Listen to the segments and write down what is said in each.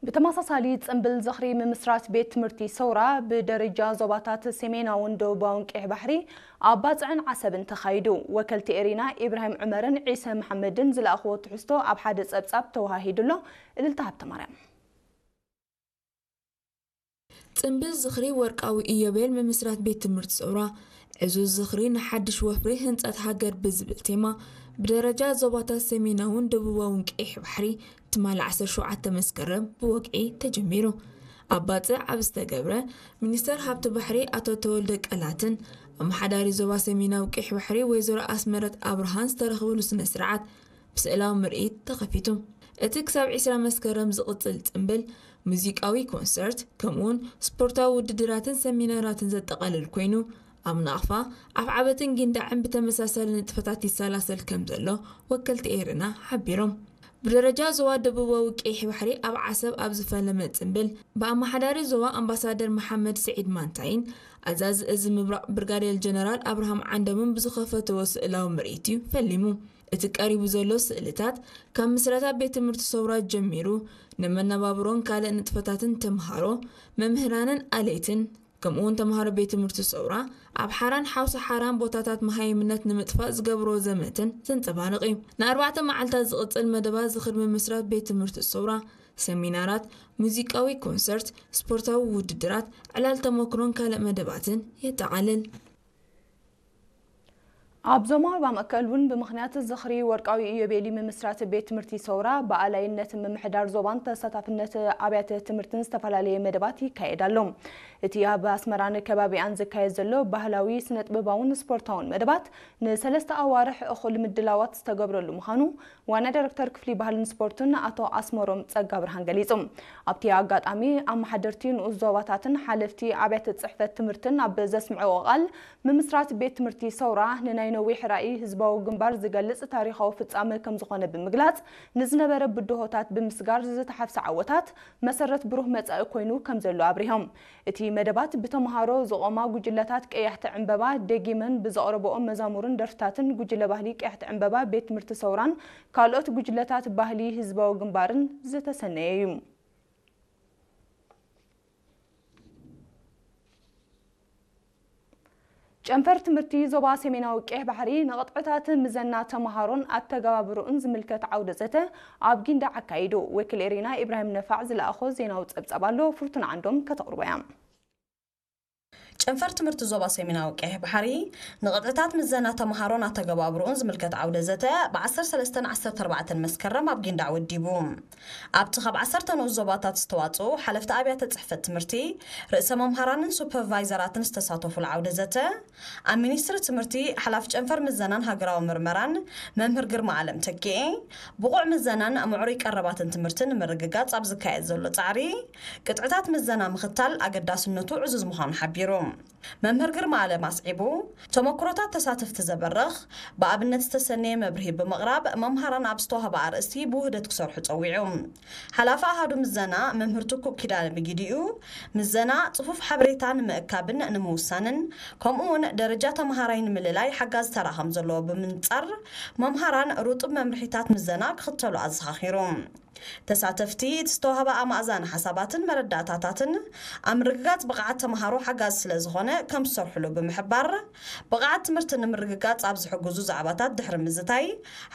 ብተመሳሳሊ፣ ጽምብል ዝኽሪ ምምስራት ቤት ትምህርቲ ሰውራ ብደረጃ ዞባታት ሰሜናውን ደቡባውን ቀይሕ ባሕሪ ኣብ ባጽዕን ዓሰብን ተኻይዱ። ወከልቲ ኤሪና ኢብራሂም ዑመርን ዒሰ መሓመድን ዝለኣኽዎ ትሕዝቶ ኣብ ሓደ ጸብጻብ ተወሃሂዱ ኣሎ። እልልታ ሃብተማርያም። ጽምብል ዝኽሪ ወርቃዊ ኢዮቤል ምምስራት ቤት ትምህርቲ ሰውራ፣ ዕዙዝ ዝኽሪ ንሓድሽ ወፍሪ ህንጸት ሃገር ብዝብል ቴማ፣ ብደረጃ ዞባታት ሰሜናውን ደቡባውን ቀይሕ ባሕሪ ትማሊ ዓሰርተ ሸውዓተ መስከረም ብወግዒ ተጀሚሩ። ኣብ ባጽዕ ኣብ ዝተገብረ፣ ሚኒስተር ሃብቲ ባሕሪ ኣቶ ተወልደ ቀላትን ኣመሓዳሪ ዞባ ሰሜናዊ ቀይሕ ባሕሪ ወይዘሮ ኣስመረት ኣብርሃን ዝተረኽብሉ ስነ ስርዓት ብስእላዊ ምርኢት ተኸፊቱ። እቲ ክሳብ ዕስራ መስከረም ዝቕጽል ጽምብል፣ ሙዚቃዊ ኮንሰርት፣ ከምኡውን ስፖርታዊ ውድድራትን ሰሚናራትን ዘጠቓልል ኮይኑ፣ ኣብ ናቕፋ፣ ኣፍዓበትን ጊንዳዕን ብተመሳሳሊ ንጥፈታት ይሰላሰል ከም ዘሎ ወከልቲ ኤርና ሓቢሮም። ብደረጃ ዞባ ደቡባዊ ቀይሕ ባሕሪ ኣብ ዓሰብ ኣብ ዝፈለመ ጽምብል፣ ብኣመሓዳሪ ዞባ ኣምባሳደር መሓመድ ስዒድ ማንታይን ኣዛዚ እዚ ምብራቕ ብርጋዴር ጀነራል ኣብርሃም ዓንደምን ብዝኸፈትዎ ስእላዊ ምርኢት እዩ ፈሊሙ። እቲ ቀሪቡ ዘሎ ስእልታት፣ ካብ ምስረታ ቤት ትምህርቲ ሰውራ ጀሚሩ፣ ንመነባብሮን ካልእ ንጥፈታትን ተምሃሮ፣ መምህራንን ኣለይትን፣ ከምኡውን ተምሃሮ ቤት ትምህርቲ ሰውራ፣ ኣብ ሓራን ሓውሲ ሓራን ቦታታት መሃይምነት ንምጥፋእ ዝገብርዎ ዘመትን ዘንጸባርቕ እዩ። ንኣርባዕተ መዓልታት ዝቕጽል መደባት ዝኽሪ ምምስራት ቤት ትምህርቲ ሰውራ፣ ሰሚናራት፣ ሙዚቃዊ ኮንሰርት፣ ስፖርታዊ ውድድራት፣ ዕላል ተመክሮን ካልእ መደባትን የጠቓልል። ኣብ ዞማ ሩባ ማእከል እውን ብምኽንያት ዝኽሪ ወርቃዊ ኢዮቤሊ ምምስራት ቤት ትምህርቲ ሰውራ ብኣላይነት ምምሕዳር ዞባን ተሳታፍነት ኣብያተ ትምህርትን ዝተፈላለየ መደባት ይካየድ ኣሎ። እቲ ኣብ ኣስመራን ከባቢኣን ዝካየድ ዘሎ ባህላዊ፣ ስነ-ጥበባውን ስፖርታውን መደባት ንሰለስተ ኣዋርሕ እኹል ምድላዋት ዝተገብረሉ ምዃኑ ዋና ዳይሬክተር ክፍሊ ባህልን ስፖርትን ኣቶ ኣስመሮም ጸጋብርሃን ገሊጹ። ኣብቲ ኣጋጣሚ፣ ኣመሓደርቲ ንኡስ ዞባታትን ሓለፍቲ ኣብያተ ጽሕፈት ትምህርትን ኣብ ዘስምዕዎ ቃል፣ ምምስራት ቤት ትምህርቲ ሰውራ ንናይ ነዊሕ ራእይ ህዝባዊ ግንባር ዝገልጽ ታሪኻዊ ፍጻመ ከም ዝኾነ ብምግላጽ፣ ንዝነበረ ብድሆታት ብምስጋር ዝተሓፍሰ ዓወታት መሰረት ብሩህ መጻኢ ኮይኑ ከም ዘሎ ኣብሪሆም። እቲ መደባት ብተምሃሮ ዝቖማ ጉጅለታት ቀያሕቲ ዕምበባ ደጊመን ብዘቕረብኦ መዛሙርን ደርፍታትን ጉጅለ ባህሊ ቀያሕቲ ዕምበባ ቤት ትምህርቲ ሰውራን ካልኦት ጉጅለታት ባህሊ ህዝባዊ ግንባርን ዝተሰነየ እዩ። ጨንፈር ትምህርቲ ዞባ ሰሜናዊ ቀይሕ ባሕሪ ንቕጥዕታት ምዘና ተምሃሮን ኣተገባብርኡን ዝምልከት ዓውደ ዘተ ኣብ ጊንዳዕ ኣካይዱ። ወኪል ኤሪና ኢብራሂም ነፋዕ ዝለኣኾ ዜናዊ ጸብጻብ ኣሎ፣ ፍርቱና ዓንዶም ከተቕርቦ እያ። ጨንፈር ትምህርቲ ዞባ ሰሜናዊ ቀይሕ ባሕሪ ንቕጥዕታት ምዘና ተምሃሮን ኣተገባብርኡን ዝምልከት ዓውደ ዘተ ብ ዓሰርተ ሰለስተን ዓሰርተ ኣርባዕተን መስከረም ኣብ ጊንዳዕ ወዲቡ። ኣብቲ ካብ ዓሰርተ ንኡስ ዞባታት ዝተዋጽኡ ሓለፍቲ ኣብያተ ጽሕፈት ትምህርቲ፣ ርእሰ መምሃራንን ሱፐርቫይዘራትን ዝተሳተፉሉ ዓውደ ዘተ፣ ኣብ ሚኒስትሪ ትምህርቲ ሓላፊ ጨንፈር ምዘናን ሃገራዊ ምርመራን መምህር ግርማ ኣለም ተኪኤ፣ ብቑዕ ምዘናን ምዕሩይ ቀረባትን ትምህርቲ ንምርግጋጽ ኣብ ዝካየድ ዘሎ ጻዕሪ፣ ቅጥዕታት ምዘና ምኽታል ኣገዳስነቱ ዕዙዝ ምዃኑ ሓቢሩ። መምህር ግርማ ኣለም ኣስዒቡ፣ ተመክሮታት ተሳተፍቲ ዘበርኽ፣ ብኣብነት ዝተሰነየ መብርሂ ብምቕራብ፣ መምሃራን ኣብ ዝተዋህበ ኣርእስቲ ብውህደት ክሰርሑ ጸዊዑ። ሓላፊ ኣሃዱ ምዘና መምህር ትኩእ ኪዳነ ብጊዲኡ፣ ምዘና ጽፉፍ ሓበሬታ ንምእካብን ንምውሳንን፣ ከምኡውን ደረጃ ተምሃራይ ንምልላይ ሓጋዚ ተራ ከም ዘለዎ ብምንጻር፣ መምሃራን ርጡብ መምርሒታት ምዘና ክኽተሉ ኣዘኻኺሩ። ተሳተፍቲ፣ እቲ ዝተዋህበ ኣማእዛኒ ሓሳባትን መረዳእታታትን ኣብ ምርግጋጽ ብቕዓት ተምሃሮ ሓጋዚ ስለ ዝኾነ ከም ዝሰርሕሉ ብምሕባር፣ ብቕዓት ትምህርቲ ንምርግጋጽ ኣብ ዝሕግዙ ዛዕባታት ድሕሪ ምዝታይ፣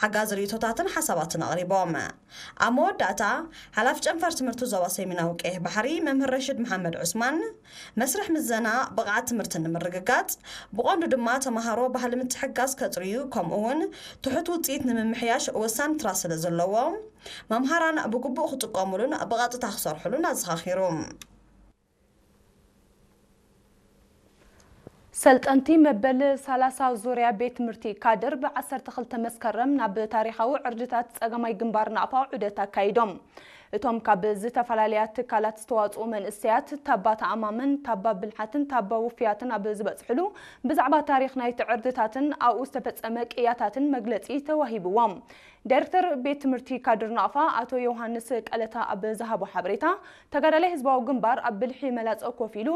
ሓጋዚ ርእይቶታትን ሓሳባትን ኣቕሪቦም። ኣብ መወዳእታ፣ ሓላፊ ጨንፈር ትምህርቲ ዞባ ሰሜናዊ ቀይሕ ባሕሪ መምህር ረሽድ መሓመድ ዑስማን፣ መስርሕ ምዘና ብቕዓት ትምህርቲ ንምርግጋጽ፣ ብቐንዱ ድማ ተምሃሮ ባህሊ ምትሕግጋዝ ከጽርዩ፣ ከምኡ እውን ትሑት ውጽኢት ንምምሕያሽ ወሳኒ ትራ ስለ ዘለዎ፣ መምሃራን ብግቡእ ክጥቀሙሉን ብቐጥታ ክሰርሑሉን ኣዘኻኺሩ። ሰልጠንቲ መበል ሰላሳ ዙርያ ቤት ትምህርቲ ካድር ብ ዓሰርተ ክልተ መስከረም ናብ ታሪኻዊ ዕርድታት ጸገማይ ግንባር ናቕፋ ዑደት ኣካይዶም። እቶም ካብ ዝተፈላለያ ትካላት ዝተዋጽኡ መንእሰያት፣ ታባ ተኣማምን ታባ ብልሓትን ታባ ውፍያትን ኣብ ዝበጽሕሉ፣ ብዛዕባ ታሪኽ ናይቲ ዕርድታትን ኣብኡ ዝተፈጸመ ቅያታትን መግለጺ ተዋሂብዎም። ዳይሬክተር ቤት ትምህርቲ ካድር ናቕፋ ኣቶ ዮሃንስ ቀለታ ኣብ ዝሃቦ ሓበሬታ፣ ተጋዳላይ ህዝባዊ ግንባር ኣብ ብልሒ መላጸ ኮፍ ኢሉ፣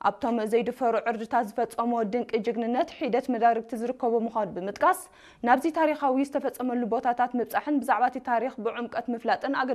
ኣብቶም ዘይድፈሩ ዕርድታት ዝፈጸሞ ድንቂ ጅግንነት ሒደት መዳርግቲ ዝርከቦ ምዃኑ ብምጥቃስ፣ ናብዚ ታሪኻዊ ዝተፈጸመሉ ቦታታት ምብጻሕን ብዛዕባ እቲ ታሪኽ ብዕምቀት ምፍላጥን